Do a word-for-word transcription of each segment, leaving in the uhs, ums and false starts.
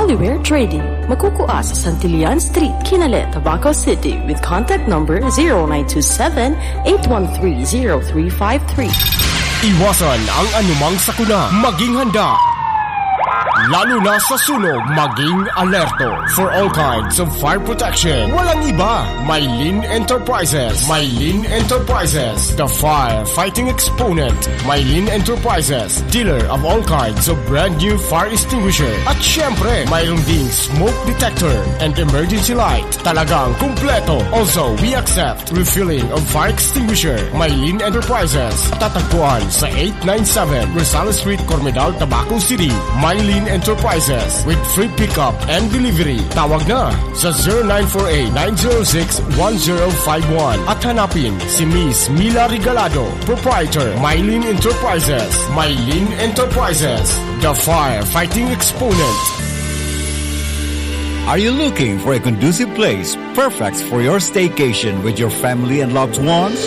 Oliver Trading, makukua sa Santillan Street, Kinale, Tabaco City, with contact number zero nine two seven, eight one three, zero three five three. Iwasan ang anumang sakuna. Maging handa. Lalo na sa sunog, maging alerto. For all kinds of fire protection, walang iba. Mylene Enterprises. Mylene Enterprises, the fire fighting exponent. Mylene Enterprises, dealer of all kinds of brand new fire extinguisher. At syempre, mayroon ding smoke detector and emergency light. Talagang kumpleto. Also, we accept refilling of fire extinguisher. Mylene Enterprises, tatagpuan sa eight nine seven Rosales Street, Cormedal, Tabaco City. Mylene Enterprises, with free pickup and delivery. Tawag na sa zero nine four eight, nine zero six, one zero five one at hanapin si Miss Mila Regalado, proprietor, Mylene Enterprises. Mylene Enterprises, the firefighting exponent. Are you looking for a conducive place perfect for your staycation with your family and loved ones?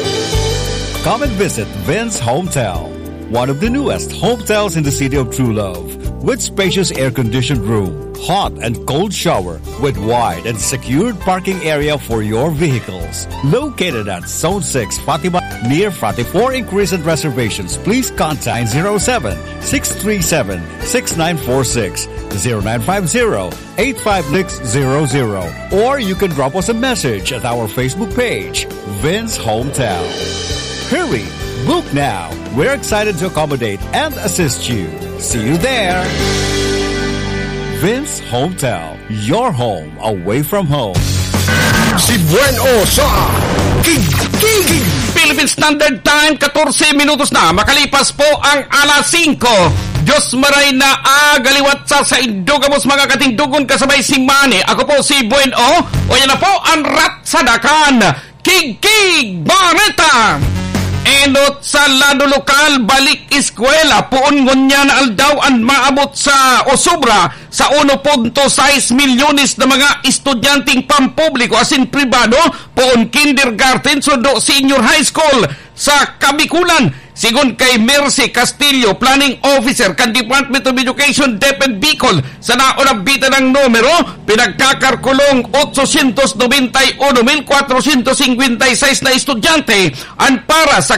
Come and visit Vince Hometel, one of the newest hotels in the city of True Love, with spacious air-conditioned room, hot and cold shower, with wide and secured parking area for your vehicles. Located at Zone six Fatima, near Fatima. For inquiries and reservations, please contact zero seven, six three seven, six nine four six, zero nine five zero, eight five six zero zero, or you can drop us a message at our Facebook page, Vince Hometel. Hurry! Book now! We're excited to accommodate and assist you. See you there! Vince Hometel, your home away from home. Si Buen O sa King King. Philippine Standard Time, katorse minutos na makalipas po ang alas singko. Diyos maray na aga liwat sa saindo gabos, mga katindogon, kasabay si Manny. Ako po si Buen O. O yan na po ang Rat sa Dakan. Kigkig Bareta! Enot sa lado lokal, balik eskwela. Poon ngunyan na aldaw an maabot sa o sobra sa uno punto sais milyones na mga estudyanteng pampubliko asin pribado, poon kindergarten sundo senior high school sa Kabikulan. Sigon kay Mercy Castillo, Planning Officer kan Department of Education, DepEd Bicol, sa naonabitan ang numero, pinagkakalkulong otsosyentos nobenta y uno mil kwatrosyentos singkwenta y seis na estudyante an para sa